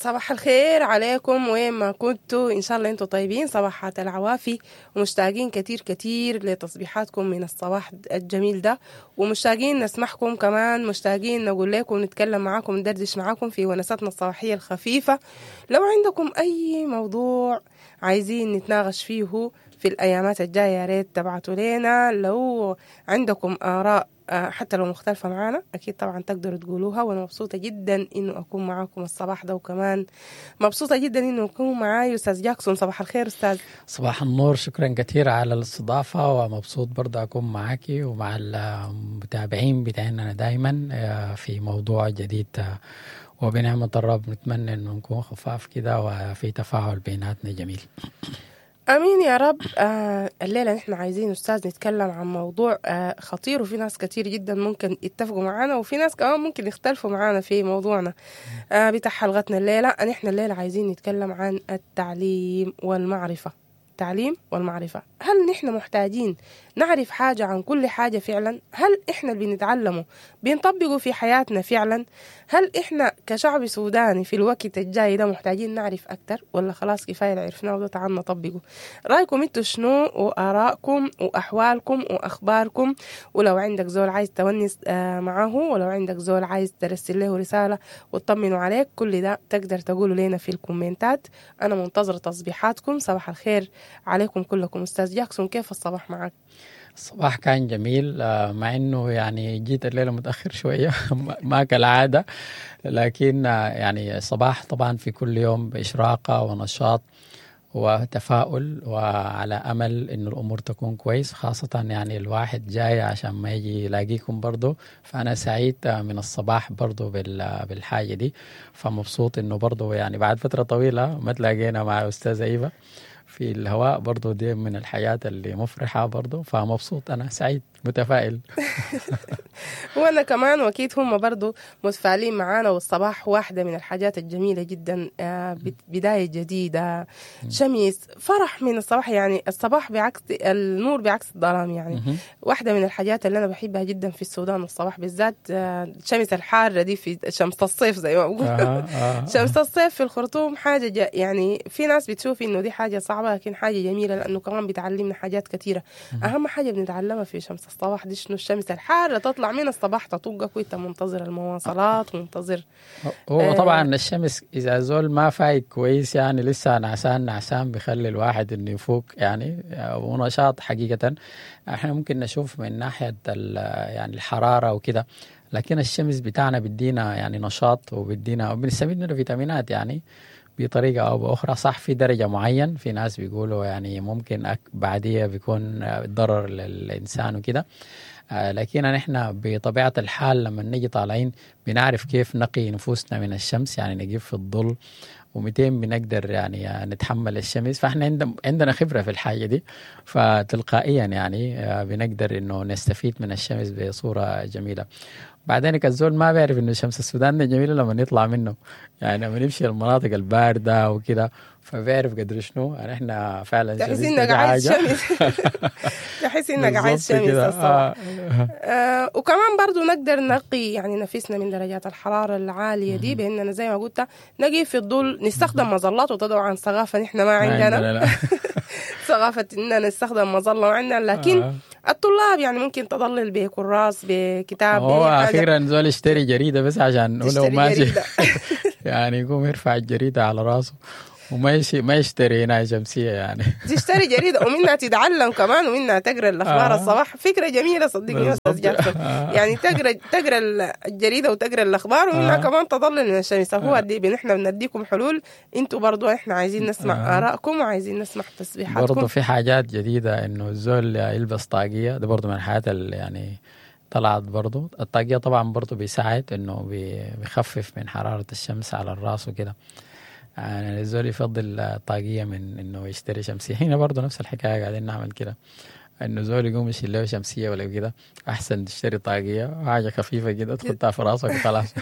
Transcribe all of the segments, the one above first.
صباح الخير عليكم وين ما كنتوا، إن شاء الله انتوا طيبين. صباحات العوافي، ومشتاقين كتير كتير لتصبيحاتكم من الصباح الجميل ده، ومشتاقين نسمعكم كمان، مشتاقين نقول لكم، نتكلم معاكم، ندردش معاكم في ونساتنا الصباحية الخفيفة. لو عندكم أي موضوع عايزين نتناقش فيه في الأيامات الجاية يا ريت تبعتوا لنا. لو عندكم آراء حتى لو مختلفة معانا أكيد طبعا تقدروا تقولوها. وأنا مبسوطة جدا إنه أكون معاكم الصباح ده، وكمان مبسوطة جدا إنه أكون معاي أستاذ جاكسون. صباح الخير أستاذ. صباح النور، شكرا كثير على الاستضافة، ومبسوط برضه أكون معاكي ومع المتابعين بتاعنا دايما في موضوع جديد، وبنعمة الرب نتمنى إنه نكون خفاف كده وفي تفاعل بيناتنا جميل. امين يا رب. الليلة نحن عايزين استاذ نتكلم عن موضوع خطير، وفي ناس كتير جدا ممكن يتفقوا معانا، وفي ناس كمان ممكن يختلفوا معانا في موضوعنا بتاع حلقتنا الليلة. نحن الليلة عايزين نتكلم عن التعليم والمعرفة. التعليم والمعرفة، هل نحن محتاجين نعرف حاجة عن كل حاجة فعلا؟ هل إحنا اللي بنتعلمه بنطبقه في حياتنا فعلا؟ هل إحنا كشعب سوداني في الوقت الجاي ده محتاجين نعرف أكتر، ولا خلاص كفاية اللي عرفناه وده تعال نطبقه؟ رأيكم انتوا شنو، وآرائكم وأحوالكم وأخباركم؟ ولو عندك زول عايز تونس معاه، ولو عندك زول عايز ترسل له رسالة وتطمنوا عليك، كل ده تقدر تقوله لنا في الكومنتات. أنا منتظرة تصبيحاتكم. صباح الخير عليكم كلكم. أستاذ جاكسون، كيف الصباح معك؟ الصباح كان جميل، مع انه يعني جيت الليلة متاخر شوية ما كالعادة، لكن يعني الصباح طبعا في كل يوم باشراقه ونشاط وتفاؤل، وعلى امل انه الامور تكون كويس، خاصة يعني الواحد جاي عشان ما يجي يلاقيكم برضه. فانا سعيد من الصباح برضه بالحاجة دي، فمبسوط انه برضه يعني بعد فترة طويلة ما تلاقينا مع استاذه ايفا في الهواء، برضو دي من الحياة اللي مفرحة برضو، فمبسوط أنا، سعيد متفائل. وأنا كمان، وأكيد هم برضو متفائلين معانا. والصباح واحدة من الحاجات الجميلة جدا، بداية جديدة، شمس، فرح من الصباح. يعني الصباح بعكس النور، بعكس الظلام. يعني واحدة من الحاجات اللي أنا بحبها جدا في السودان الصباح بالذات، الشمس الحارة دي، في شمس الصيف زي ما بقول. شمس الصيف في الخرطوم حاجة يعني في ناس بتشوف إنه دي حاجة صعبة، لكن حاجة جميلة، لأنه كمان بتعلمنا حاجات كثيرة. أهم حاجة بنتعلمها في شمس الصباح دي شنو؟ الشمس الحارة تطلع من الصباح تطقك وانت منتظر المواصلات ومنتظر. هو طبعا الشمس إذا زول ما فايق كويس، يعني لسه نعسان نعسان، بيخلي الواحد إنه يفوق يعني ونشاط. حقيقة احنا ممكن نشوف من ناحية يعني الحرارة وكده، لكن الشمس بتاعنا بيدينا يعني نشاط، وبيدينا وبنستفيد منه فيتامينات يعني بطريقة أو بأخرى. صح في درجة معين في ناس بيقولوا يعني ممكن بعديها بيكون ضرر للإنسان وكده، لكن نحن بطبيعة الحال لما نجي طالعين بنعرف كيف نقي نفوسنا من الشمس، يعني نجيب في الظل ومتين بنقدر يعني نتحمل الشمس، فاحنا عندنا خبرة في الحاجة دي، فتلقائيا يعني بنقدر انه نستفيد من الشمس بصورة جميلة. بعدين الزول ما بيعرف انه شمس السودان ده جميلة لما يطلع منه، يعني لما نمشي المناطق الباردة وكده، فبيعرف قدر شنو يعني احنا فعلا تحس انك عايز شمس. تحس انك عايز شمس الصباح. وكمان برضو نقدر نقي يعني نفسنا من درجات الحرارة العالية دي باننا زي ما قلت نقي في الظل، نستخدم مظلات، وطبعا ثقافة نحن ما عندنا ثقافة اننا نستخدم مظلة عندنا، لكن الطلاب يعني ممكن تضلل بكراس بكتاب. هو اخيرا زول يشتري جريدة بس عشان لو ماشي يعني يقوم يرفع الجريدة على راسه وما ما يشتري هنا شمسية يعني. تشتري جريدة ومنها تتعلم كمان، ومنها تقرا الأخبار الصباح. فكرة جميلة صدقني يا أستاذ جاكسون، يعني تقرا الجريدة وتقرا الأخبار، ومنها كمان تضلل من الشمس. هو دي نحن بنديكم حلول، انتوا برضو احنا عايزين نسمع آرائكم وعايزين نسمع تصبيحاتكم. برضو في حاجات جديدة إنه الزول يلبس طاقية، ده برضو من الحاجات اللي يعني طلعت برضو. الطاقية طبعا برضو بيساعد إنه بيخفف من حرارة الشمس على الراس وكده. يعني الزول يفضل طاقية من إنه يشتري شمسية. هنا برضو نفس الحكاية قاعدين نعمل كده، إنه زول يقوم يشيل له شمسية ولا كده، أحسن تشتري طاقية حاجة خفيفة كده تحطها في راسك وخلاص.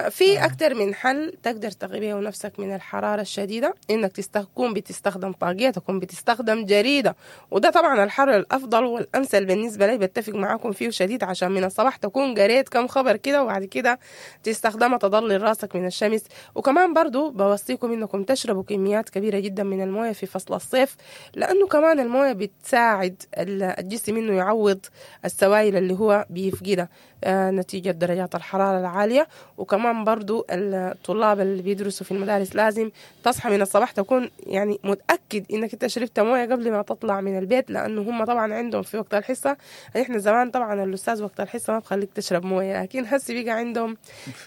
في أكتر من حل تقدر تقي بيه نفسك من الحرارة الشديدة، إنك تكون بتستخدم طاقية، تكون بتستخدم جريدة، وده طبعا الحل الأفضل والأمثل بالنسبة لي، بتفق معاكم فيه شديد، عشان من الصباح تكون قريت كم خبر كده وبعد كده تستخدمها تضلل راسك من الشمس. وكمان برضو بوصيكم إنكم تشربوا كميات كبيرة جدا من الموية في فصل الصيف، لأنه كمان الموية بتساعد الجسم إنه يعوض السوائل اللي هو بيفقدها نتيجة درجات الحرارة العالية. وكمان برضو الطلاب اللي بيدرسوا في المدارس لازم تصحى من الصباح تكون يعني متأكد إنك انت شربت موية قبل ما تطلع من البيت، لأنه هم طبعا عندهم في وقت الحصة، احنا زمان طبعا الأستاذ وقت الحصة ما بخليك تشرب موية، لكن هسي بقى عندهم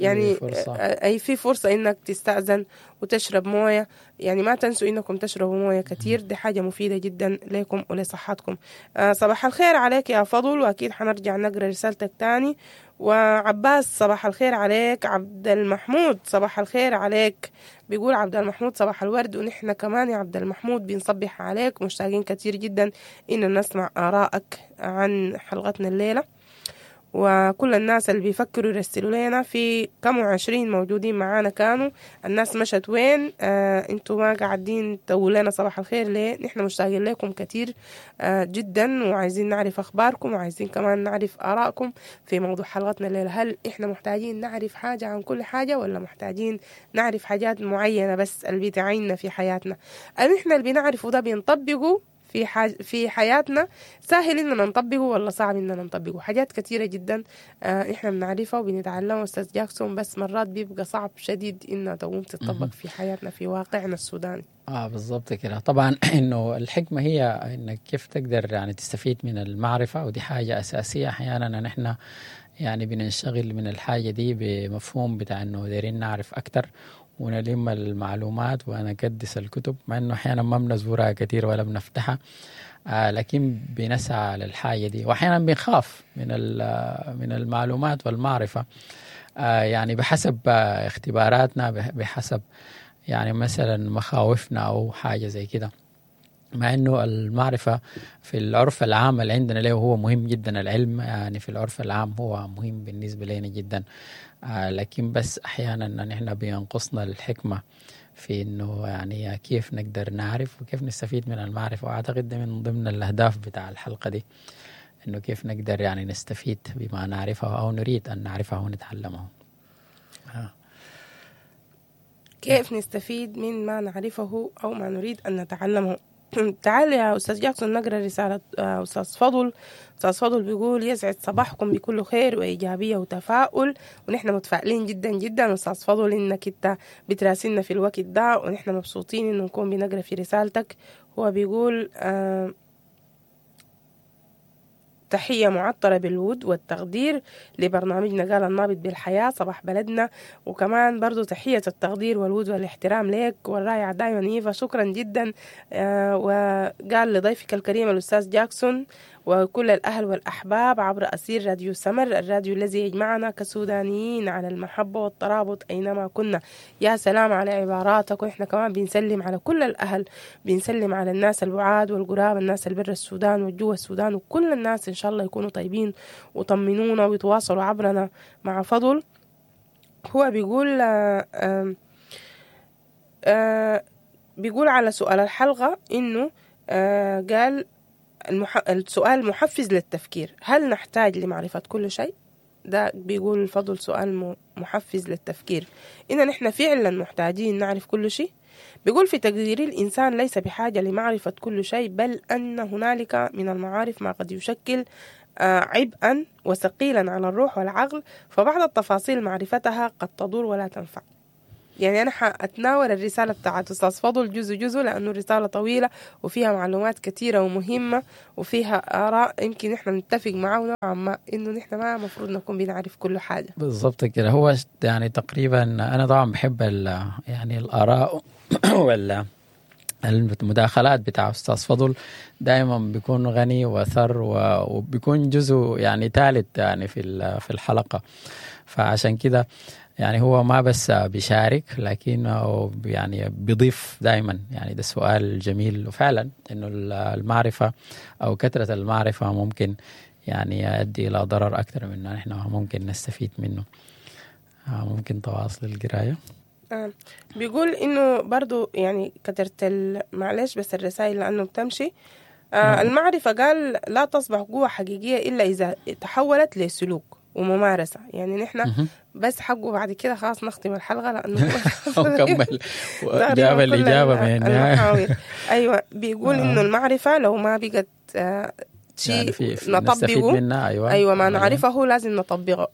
يعني فرصة. أي في فرصة إنك تستأذن وتشرب موية. يعني ما تنسوا إنكم تشربوا موية كتير، دي حاجة مفيدة جدا لكم ولصحتكم. صباح الخير عليك يا فضل، وأكيد حنرجع نقرأ رسالتك تاني. وعباس صباح الخير عليك. عبد المحمود صباح الخير عليك، بيقول عبد المحمود صباح الورد، ونحن كمان يا عبد المحمود بنصبح عليك، مشتاقين كتير جدا إن نسمع آرائك عن حلقتنا الليلة. وكل الناس اللي بيفكروا يرسلوا لنا، في كم 20 موجودين معانا، كانوا الناس مشت وين؟ انتوا ما قاعدين تقولوا لنا صباح الخير ليه؟ نحن مشتاقين لكم كتير جدا، وعايزين نعرف اخباركم، وعايزين كمان نعرف ارائكم في موضوع حلقتنا الليلة. هل احنا محتاجين نعرف حاجة عن كل حاجة، ولا محتاجين نعرف حاجات معينة بس اللي بتعيننا في حياتنا؟ احنا اللي بنعرفه ده بنطبقه في حياتنا، سهل إننا نطبقه ولا صعب إننا نطبقه؟ حاجات كثيرة جدا إحنا بنعرفها وبنتعلمها أستاذ جاكسون، بس مرات بيبقى صعب شديد إنها تقوم تطبق في حياتنا في واقعنا السوداني. بالضبط كده. طبعا إنه الحكمة هي إنك كيف تقدر يعني تستفيد من المعرفة، ودي حاجة أساسية. أحيانا نحن يعني بننشغل من الحاجة دي بمفهوم بتاع إنه دايرين نعرف أكتر ونلم المعلومات ونكدس الكتب، مع انه احيانا ما بنزورها كثير ولا بنفتحها، لكن بنسعى للحاجة دي. واحيانا بنخاف من المعلومات والمعرفة، يعني بحسب اختباراتنا، بحسب يعني مثلا مخاوفنا او حاجة زي كده. مع انه المعرفة في العرف العام اللي عندنا له هو مهم جدا، العلم يعني في العرف العام هو مهم بالنسبة لنا جدا، لكن بس احيانا نحن بينقصنا الحكمة في انه يعني كيف نقدر نعرف وكيف نستفيد من المعرفة. واعتقد ده من ضمن الاهداف بتاع الحلقة دي، انه كيف نقدر يعني نستفيد بما نعرفه او نريد ان نعرفه ونتعلمه. كيف نستفيد من ما نعرفه او ما نريد ان نتعلمه. تعال يا أستاذ جاكسون نقرأ رسالة أستاذ فضل. أستاذ فضل بيقول يسعد صباحكم بكل خير وإيجابية وتفاؤل، ونحن متفائلين جدا جدا أستاذ فضل إنك أنت بتراسلنا في الوقت ده، ونحن مبسوطين إنه نكون بنقرأ في رسالتك. هو بيقول تحية معطرة بالود والتقدير لبرنامجنا قال النابض بالحياة صباح بلدنا، وكمان برضو تحية التقدير والود والاحترام لك والرائعة دايما إيفا، شكرا جدا. وقال لضيفك الكريم الأستاذ جاكسون وكل الأهل والأحباب عبر أسير راديو سمر، الراديو الذي يجمعنا كسودانيين على المحبة والترابط أينما كنا. يا سلام على عباراتك، وإحنا كمان بنسلم على كل الأهل، بنسلم على الناس البعاد والقراب، الناس البر السودان والجوا السودان، وكل الناس إن شاء الله يكونوا طيبين وطمنونا ويتواصلوا عبرنا مع فضل. هو بيقول بيقول على سؤال الحلقة إنه قال السؤال محفز للتفكير، هل نحتاج لمعرفة كل شيء؟ ده بيقول الفضل سؤال محفز للتفكير، إن نحن فعلا محتاجين نعرف كل شيء. بيقول في تقديري الإنسان ليس بحاجة لمعرفة كل شيء، بل أن هنالك من المعارف ما قد يشكل عبئا وثقيلا على الروح والعقل، فبعض التفاصيل معرفتها قد تضر ولا تنفع. يعني أنا حأتناول الرسالة بتاعت أستاذ فضل جزء جزء، لأنه الرسالة طويلة وفيها معلومات كثيرة ومهمة وفيها آراء يمكن إحنا نتفق معه نوعا ما إنه نحن ما مفروض نكون بنعرف كل حاجة. بالضبط كده. هو يعني تقريبا أنا طبعا بحب يعني الآراء ولا المداخلات بتاع أستاذ فضل، دائما بيكون غني وثر وبيكون جزء يعني ثالث يعني في الحلقة، فعشان كده يعني هو ما بس بيشارك لكنه يعني بيضيف دائما. يعني ده سؤال جميل، وفعلا انه المعرفة او كثرة المعرفة ممكن يعني يؤدي الى ضرر اكثر من نحن ممكن نستفيد منه. ممكن تواصل القراية. بيقول إنه برضو يعني كترت معلش بس الرسائل لأنه بتمشي. المعرفة قال لا تصبح قوة حقيقية إلا إذا تحولت لسلوك وممارسة. يعني نحن بس حقه بعد كده خلاص نختم الحلقة لأنه كمل جاب الإجابة من المحاور. أيوة، بيقول إنه المعرفة لو ما بقت شيء يعني نطبقه منها. أيوة. أيوة، ما نعرفه لازم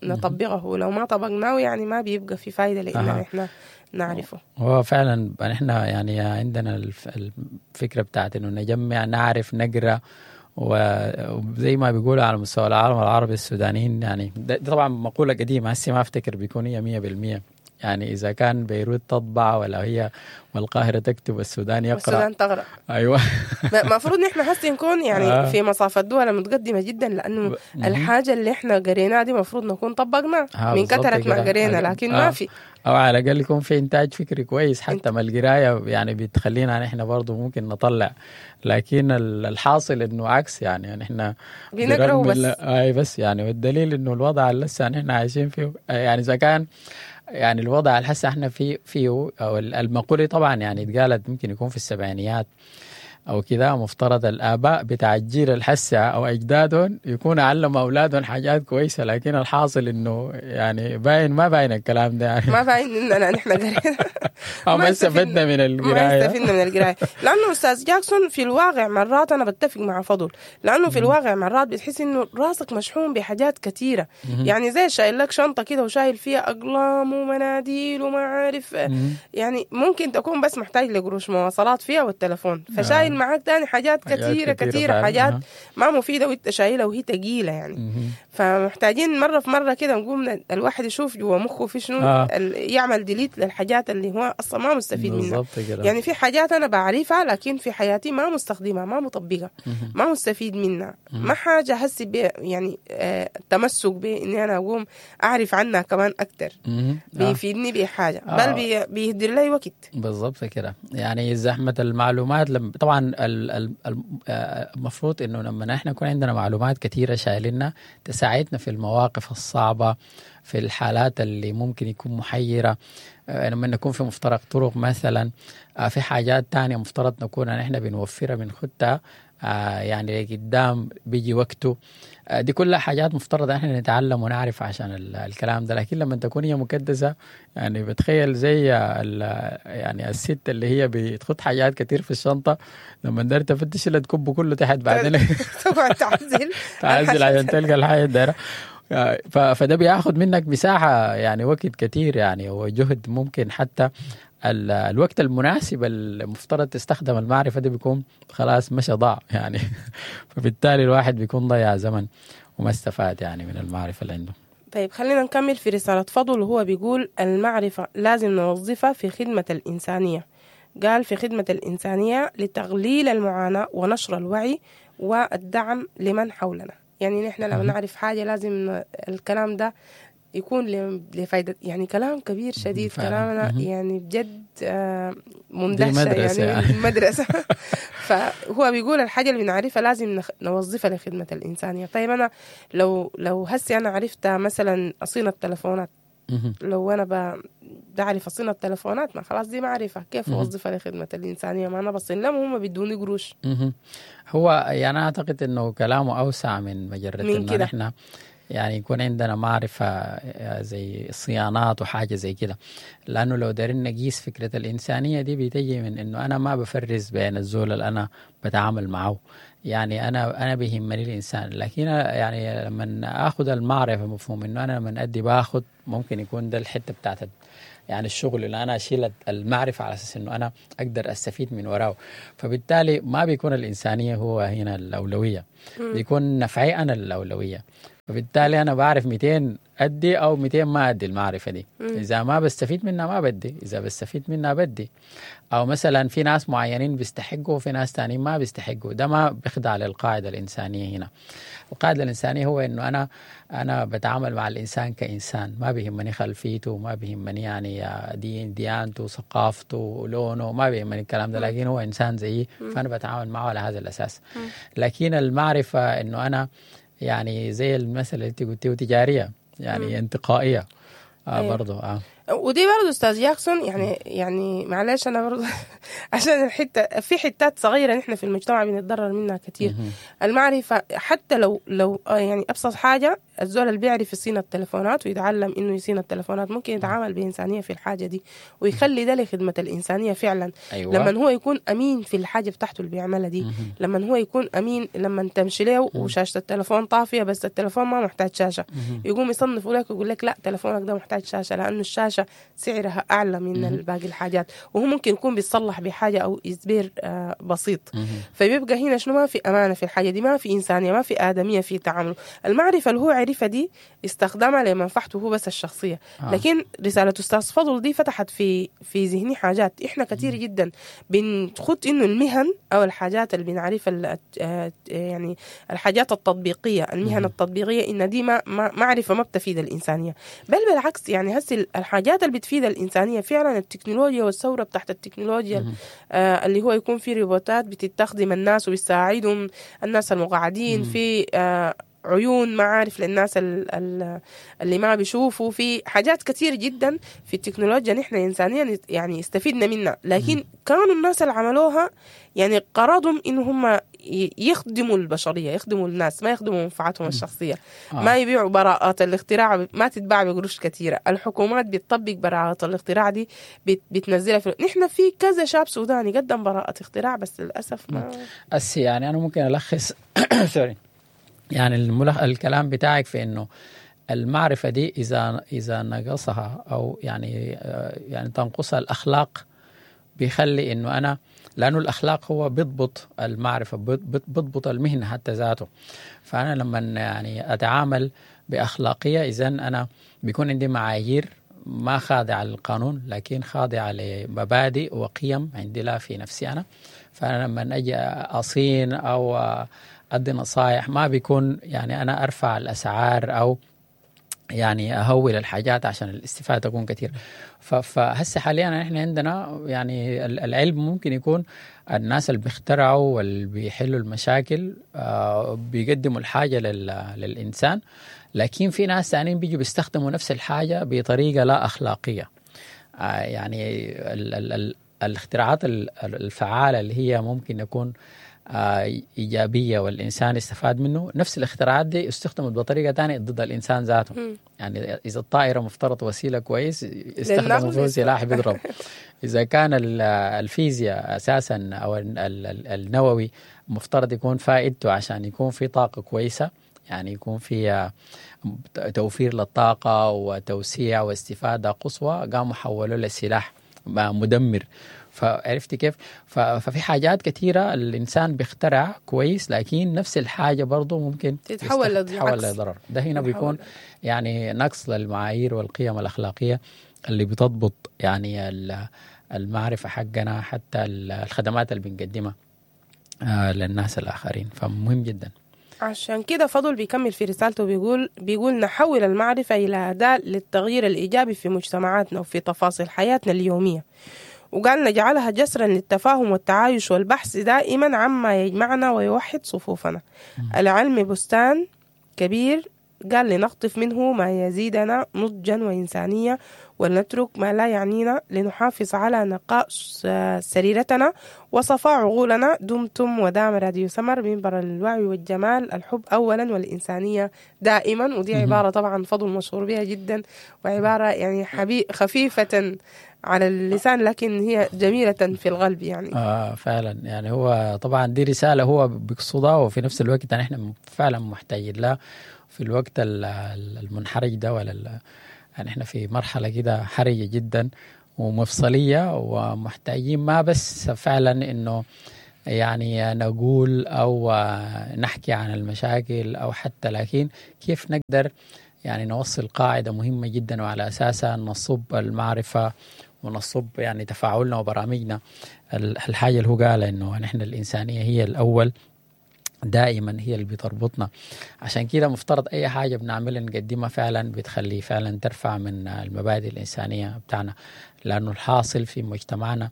نطبقه، لو ما طبقناه يعني ما بيبقى في فايدة لأن نحن نعرفه. هو فعلا نحن يعني عندنا الفكرة بتاعت إنه نجمع، نعرف، نقرأ، وزي ما بيقولوا على مستوى العالم العربي السودانيين يعني ده طبعا مقولة قديمة هسه ما افتكر بيكون هي 100%. يعني إذا كان بيروت تطبع ولا هي والقاهرة تكتب السودان يقرأ والسودان تغرق. أيوة. المفروض نحن هسه نكون يعني في مصاف الدول المتقدمة جدا، لأنه الحاجة اللي احنا قريناها دي المفروض نكون طبقناها من كثرة ما قرينا، لكن ما في، أو على الأقل يكون في إنتاج فكري كويس. حتى ما القراية يعني بتخلينا نحن برضو ممكن نطلع، لكن الحاصل إنه عكس، يعني نحن بنقرأ بس. أي بس يعني، والدليل إنه الوضع اللي لسه نحن عايشين فيه، يعني إذا كان يعني الوضع اللي هسه احنا فيه أو المقولة طبعا يعني اتقالت ممكن يكون في السبعينيات أو كذا، مفترض الآباء بتاع الجيل الحسة أو أجدادهم يكون علموا أولادهم حاجات كويسة، لكن الحاصل إنه يعني باين ما باين الكلام ده، يعني ما باين إننا نحن قرينا أو ما استفدنا من القراية، ما استفدنا من القراية. لأنه أستاذ جاكسون في الواقع مرات أنا بتفق مع فضل، لأنه في الواقع مرات بتحس إنه راسك مشحون بحاجات كثيرة، يعني زي شايل لك شنطة كده وشايل فيها أقلام ومناديل وما عارف، يعني ممكن تكون بس محتاج لقروش مواصلات فيها والتلفون، فشايل معاك تاني حاجات كثيرة كثيرة، حاجات ما مفيدة وانت شايلة وهي تقيلة يعني. فمحتاجين مرة في مرة كده نقوم الواحد يشوف جوا مخه في شنو، يعمل delete للحاجات اللي هو أصلا ما مستفيد منها. يعني في حاجات أنا بعرفها لكن في حياتي ما مستخدمها، ما مطبقها، ما مستفيد منها، ما حاجة هسي يعني التمسك بإني أنا أقوم أعرف عنها كمان أكتر بيفيدني بحاجة، بل بيهدر لي وقت. بالضبط كده. يعني زحمة المعلومات طبعا المفروض انه لما نحن يكون عندنا معلومات كثيرة شايلنا تساعدنا في المواقف الصعبة، في الحالات اللي ممكن يكون محيره، لما نكون في مفترق طرق مثلا، في حاجات تانية مفترض نكون نحن بنوفرها بنخدها يعني قدام بيجي وقته. دي كلها حاجات مفترض احنا نتعلم ونعرف عشان الكلام ده. لكن لما تكون هي مكدسة يعني بتخيل زي يعني الست اللي هي بتخط حاجات كتير في الشنطة، لما دار تفتش اللي تكب كله تحت بعدين تقعد تعزل تعزل عشان تلقى الحاجة الدايرة. فده بياخد منك مساحة يعني وقت كتير يعني وجهد، ممكن حتى الوقت المناسب المفترض تستخدم المعرفة دي بيكون خلاص مشى ضاع يعني. فبالتالي الواحد بيكون ضيع زمن وما استفاد يعني من المعرفة اللي عنده. طيب خلينا نكمل في رسالة فضل، وهو بيقول المعرفة لازم نوظفها في خدمة الإنسانية. قال في خدمة الإنسانية لتقليل المعاناة ونشر الوعي والدعم لمن حولنا. يعني نحن لو نعرف حاجة لازم الكلام ده يكون لفايدة، يعني كلام كبير شديد كلامنا يعني بجد مندهشة يعني مدرسة. فهو بيقول الحاجة اللي بنعرفها لازم نوظفها لخدمة الإنسانية. طيب أنا لو هسي أنا عرفت مثلا أصين التلفونات، لو أنا بعرف أصين التلفونات ما خلاص دي معرفة، كيف أوظفها لخدمة الإنسانية؟ ما أنا بصين لهم هم بيدوني قروش. هو يعني أعتقد إنه كلامه أوسع من مجرد إنه نحن يعني يكون عندنا معرفة زي صيانات وحاجة زي كده، لأنه لو دارين نقيس فكرة الإنسانية دي بتجي من إنه أنا ما بفرز بين الزول اللي أنا بتعامل معه، يعني أنا بيهمني الإنسان. لكن يعني لما أخذ المعرفة مفهوم إنه أنا لما أدي باخد، ممكن يكون ده الحتة بتاعت يعني الشغل اللي أنا أشيل المعرفة على أساس إنه أنا أقدر أستفيد من وراه، فبالتالي ما بيكون الإنسانية هو هنا الأولوية، بيكون نفعي أنا الأولوية. فبالتالي أنا بعرف 200 أدي أو 200 ما أدي المعرفة دي. إذا ما بستفيد منها ما بدي، إذا بستفيد منها بدي. أو مثلا في ناس معينين بيستحقوا وفي ناس تانيين ما بيستحقوا، ده ما بيخضع للقاعدة الإنسانية. هنا القاعدة الإنسانية هو إنه أنا بتعامل مع الإنسان كإنسان، ما بيهمني خلفيته، ما بيهمني يعني دين ديانته ثقافته لونه، ما بيهمني الكلام ده، لكن هو إنسان زيي فأنا بتعامل معه على هذا الأساس. لكن المعرفة إنه أنا يعني زي المثل اللي انت قلتيه تجارية يعني انتقائية. أيوة. برضو ودي برضه استاذ جاكسون، يعني معلش انا برضه عشان الحتة، في حتات صغيرة نحن في المجتمع بنتضرر منها كثير. المعرفة حتى لو يعني ابسط حاجة، الزول اللي بيعرف يصين التلفونات ويتعلم انه يصين التلفونات ممكن يتعامل بانسانيه في الحاجة دي ويخلي ده لخدمة الانسانية فعلا. لما هو يكون امين في الحاجة بتاعته اللي بيعملها دي، لما هو يكون امين، لما تمشي له وشاشه التلفون طافية بس التلفون ما محتاج شاشة، يقوم يصنفه لك ويقول لك لا تلفونك ده محتاج شاشة لانه الشاشة سعرها اعلى من باقي الحاجات، وهو ممكن يكون بيتصلح بحاجة او spare بسيط. فبيبقى هنا شنو؟ ما في امانه في الحاجة دي، ما في انسانيه، ما في ادميه في تعامله. المعرفة اللي هو عرفها دي استخدمها لمنفعته هو بس الشخصية. لكن رسالة استاذ فضل دي فتحت في ذهني حاجات. احنا كثير جدا بنخط انه المهن او الحاجات اللي بنعرفها، يعني الحاجات التطبيقية، المهن التطبيقية، ان دي ما معرفة ما بتفيد الانسانية، بل بالعكس. يعني هسه الحاجات اللي بتفيد الانسانية فعلا التكنولوجيا والثورة بتاعت التكنولوجيا، اللي هو يكون في روبوتات بتستخدم الناس وبتساعدهم، الناس المقعدين، في عيون معارف للناس اللي ما بيشوفوا، في حاجات كثير جدا في التكنولوجيا نحن إنسانيا يعني استفدنا منها. لكن كانوا الناس اللي عملوها يعني قرضهم إنه هم يخدموا البشرية، يخدموا الناس، ما يخدموا منفعتهم الشخصية. ما يبيعوا براءات الاختراع، ما تتباع بقروش كثيرة. الحكومات بتطبق براءات الاختراع دي، بتنزلها في... نحن في كذا شاب سوداني قدم براءة اختراع بس للأسف ما يعني أنا ممكن ألخص sorry يعني الكلام بتاعك في انه المعرفة دي اذا نقصها او يعني تنقصها الاخلاق، بيخلي انه انا، لانه الاخلاق هو بيضبط المعرفة، بيضبط المهنة حتى ذاته. فانا لما يعني اتعامل باخلاقيه، اذا انا بيكون عندي معايير ما خاضعة للقانون لكن خاضعة لمبادئ وقيم عندي لا في نفسي انا. فانا لما اجي اصين او أدي نصائح ما بيكون يعني أنا أرفع الأسعار أو يعني أهول الحاجات عشان الاستفادة تكون كثير. فهسه حاليا إحنا عندنا يعني العلم ممكن يكون الناس اللي بيخترعوا واللي بيحلوا المشاكل بيقدموا الحاجة للإنسان، لكن في ناس ثانيين بيجوا بيستخدموا نفس الحاجة بطريقة لا أخلاقية. يعني الاختراعات الفعالة اللي هي ممكن يكون إيجابية والإنسان استفاد منه، نفس الاختراعات دي استخدمت بطريقة تانية ضد الإنسان ذاته. يعني إذا الطائرة مفترض وسيلة كويس، استخدموا فيه سلاح بيضرب. إذا كان الفيزياء أساسا أو النووي مفترض يكون فائدته عشان يكون في طاقة كويسة، يعني يكون في توفير للطاقة وتوسيع واستفادة قصوى، قاموا حولوا لسلاح مدمر. فعرفتي كيف؟ ففي حاجات كثيرة الإنسان بيخترع كويس، لكن نفس الحاجة برضو ممكن تتحول لضرر. ده هنا بيكون يعني نقص للمعايير والقيم الأخلاقية اللي بتضبط يعني المعرفة حقنا، حتى الخدمات اللي بنقدمها للناس الآخرين. فمهم جدا. عشان كده فضل بيكمل في رسالته بيقول نحول المعرفة إلى أداة للتغيير الإيجابي في مجتمعاتنا وفي تفاصيل حياتنا اليومية، وقال نجعلها جسرا للتفاهم والتعايش والبحث دائما عما يجمعنا ويوحد صفوفنا. العلم بستان كبير، قال لنقطف منه ما يزيدنا نضجا وإنسانية، ولنترك ما لا يعنينا لنحافظ على نقاء سريرتنا وصفاء عقولنا. دمتم ودام راديو سمر، منبر الوعي والجمال، الحب أولا والإنسانية دائما. ودي عبارة طبعا فضل مشهور بها جدا، وعبارة يعني خفيفة على اللسان لكن هي جميلة في القلب يعني. فعلا يعني هو طبعا دي رسالة هو بيقصدها، وفي نفس الوقت يعني احنا فعلا محتاجين لها في الوقت المنحرج ده، ولا يعني احنا في مرحلة كده حرجة جدا ومفصلية، ومحتاجين ما بس فعلا انه يعني نقول او نحكي عن المشاكل او حتى، لكن كيف نقدر يعني نوصل قاعدة مهمة جدا وعلى أساسها نصب المعرفة ونصب يعني تفاعلنا وبرامجنا. الحاجة اللي هو قال إنه نحن الإنسانية هي الأول دائما، هي اللي بتربطنا. عشان كده مفترض أي حاجة بنعملها نقدمها فعلا بتخلي فعلا ترفع من المبادئ الإنسانية بتاعنا، لأنه الحاصل في مجتمعنا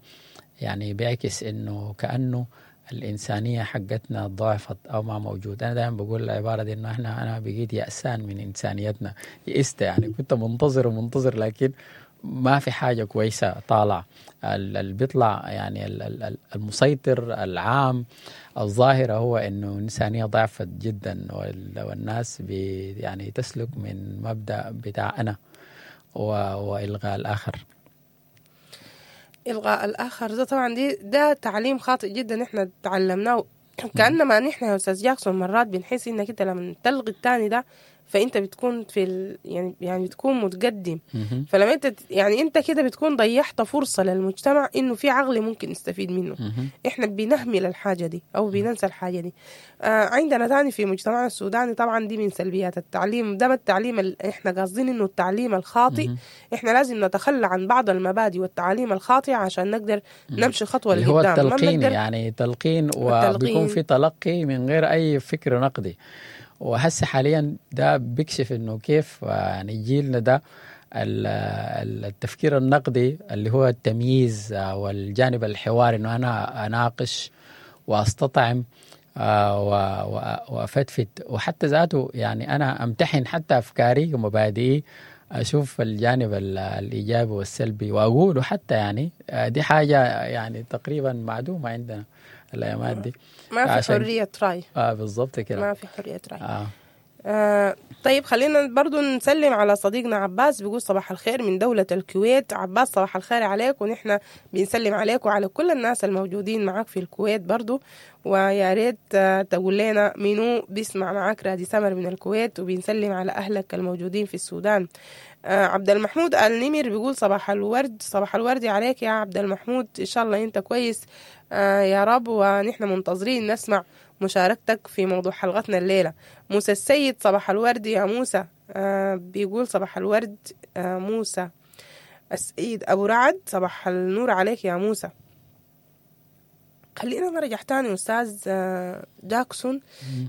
يعني بيعكس إنه كأنه الإنسانية حقتنا ضعفت أو ما موجودة. أنا دائما بقول العبارة دي إنه أنا بقيت يأسان من إنسانيتنا، يئست يعني، كنت منتظر ومنتظر لكن ما في حاجة كويسة طالعة. اللي بيطلع يعني المسيطر العام الظاهرة هو إنه الإنسانية ضعفت جدا، والناس يعني تسلك من مبدأ بتاع أنا وإلغاء الآخر. إلغاء الآخر ده طبعا ده تعليم خاطئ جدا احنا تعلمناه، كأنما نحن يا أستاذ جاكسون مرات بنحس إنك أنت لما تلغي الثاني ده فأنت بتكون في يعني بتكون متقدم. فلما أنت يعني أنت كده بتكون ضيعت فرصة للمجتمع إنه في عقل ممكن يستفيد منه. إحنا بنهمل الحاجة دي أو بننسى الحاجة دي. عندنا تاني في مجتمعنا السوداني طبعا دي من سلبيات التعليم ده، التعليم إحنا قاصدين إنه التعليم الخاطئ. إحنا لازم نتخلى عن بعض المبادئ والتعاليم الخاطئة عشان نقدر نمشي خطوة لقدام. هو التلقين، يعني تلقين، وبيكون في تلقي من غير أي فكر نقدي. وهسه حاليا ده بيكشف انه كيف يعني جيلنا ده التفكير النقدي اللي هو التمييز والجانب الحواري، انه انا اناقش واستطعم وافتفت، وحتى ذاته يعني انا امتحن حتى افكاري ومبادئي، اشوف الجانب الايجابي والسلبي واقوله حتى، يعني دي حاجة يعني تقريبا معدومة عندنا الايامات دي. ما في حرية راي. بالضبط كده، ما في حرية راي. طيب خلينا برضو نسلم على صديقنا عباس، بيقول صباح الخير من دولة الكويت. عباس صباح الخير عليك، ونحن بنسلم عليك وعلى كل الناس الموجودين معاك في الكويت برضو، ويا ريت تقول لنا منو بيسمع معاك رادي سمر من الكويت، وبنسلم على أهلك الموجودين في السودان. عبد المحمود النمر بيقول صباح الورد. صباح الورد عليك يا عبد المحمود، إن شاء الله أنت كويس يا رب، ونحن منتظرين نسمع مشاركتك في موضوع حلقتنا الليلة. موسى السيد صباح الورد يا موسى، بيقول صباح الورد موسى السيد. أبو رعد صباح النور عليك يا موسى. خلينا نرجع تاني أستاذ جاكسون.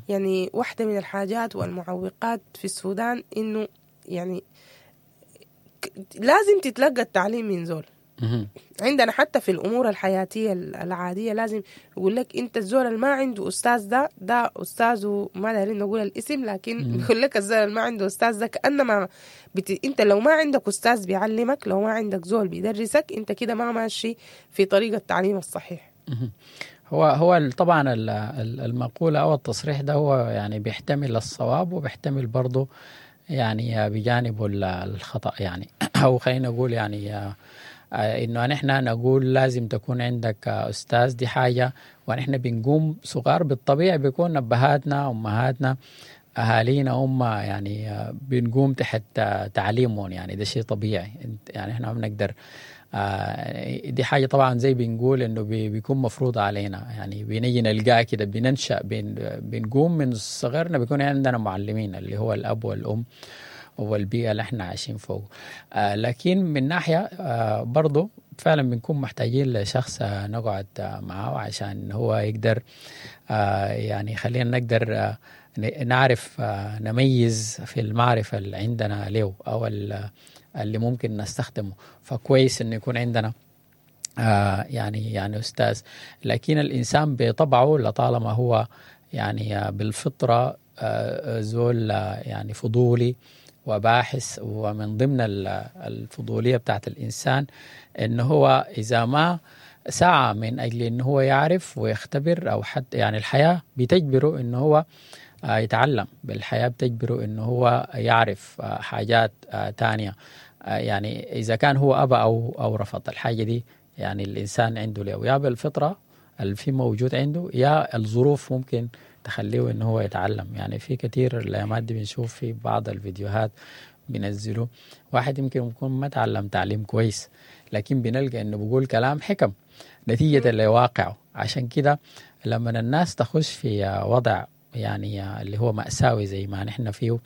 يعني واحدة من الحاجات والمعوقات في السودان إنه يعني لازم تتلقى التعليم من زول. عندنا حتى في الأمور الحياتية العادية لازم يقول لك أنت الزول اللي ما عنده أستاذ ده أستاذه، ما دارين نقول الاسم، لكن يقول لك الزول اللي ما عنده أستاذ ده كأنما أنت لو ما عندك أستاذ بيعلمك، لو ما عندك زول بيدرسك، أنت كده ما ماشي في طريقة التعليم الصحيح. هو طبعا المقولة أو التصريح ده هو يعني بيحتمل الصواب وبيحتمل برضه يعني بجانبه الخطأ، يعني أو خلينا نقول يعني إنه نحن نقول لازم تكون عندك أستاذ، دي حاجة. ونحن بنقوم صغار بالطبيعي بيكون أبهاتنا أمهاتنا أهالينا هم يعني بنقوم تحت تعليمهم، يعني ده شيء طبيعي، يعني إحنا ما بنقدر. دي حاجة طبعا زي بنقول إنه بيكون مفروض علينا، يعني بنيجي نلقاه كده، بننشأ بنقوم من صغرنا بيكون عندنا معلمين اللي هو الأب والأم والبيئة اللي احنا عايشين فوق. لكن من ناحية برضو فعلا بنكون محتاجين لشخص نقعد معه عشان هو يقدر يعني خلينا نقدر نعرف نميز في المعرفة اللي عندنا له أو اللي ممكن نستخدمه. فكويس إنه يكون عندنا يعني أستاذ. لكن الإنسان بطبعه لطالما هو يعني بالفطرة زول يعني فضولي وباحث، ومن ضمن الفضولية بتاعت الإنسان إنه هو إذا ما سعى من أجل إنه هو يعرف ويختبر أو حتى يعني الحياة بتجبره إنه هو يتعلم، بالحياة بتجبره إنه هو يعرف حاجات تانية. يعني إذا كان هو أبى أو رفض الحاجة دي، يعني الإنسان عنده له يا بالفطرة اللي في موجود عنده، يا الظروف ممكن تخليه إنه هو يتعلم. يعني في كثير الأيامات دي بنشوف في بعض الفيديوهات بينزلوا واحد يمكن يكون ما تعلم تعليم كويس، لكن بنلقى إنه بيقول كلام حكم نتيجة لواقعه. عشان كده لما الناس تخش في وضع يعني اللي هو مأساوي زي ما نحن فيه،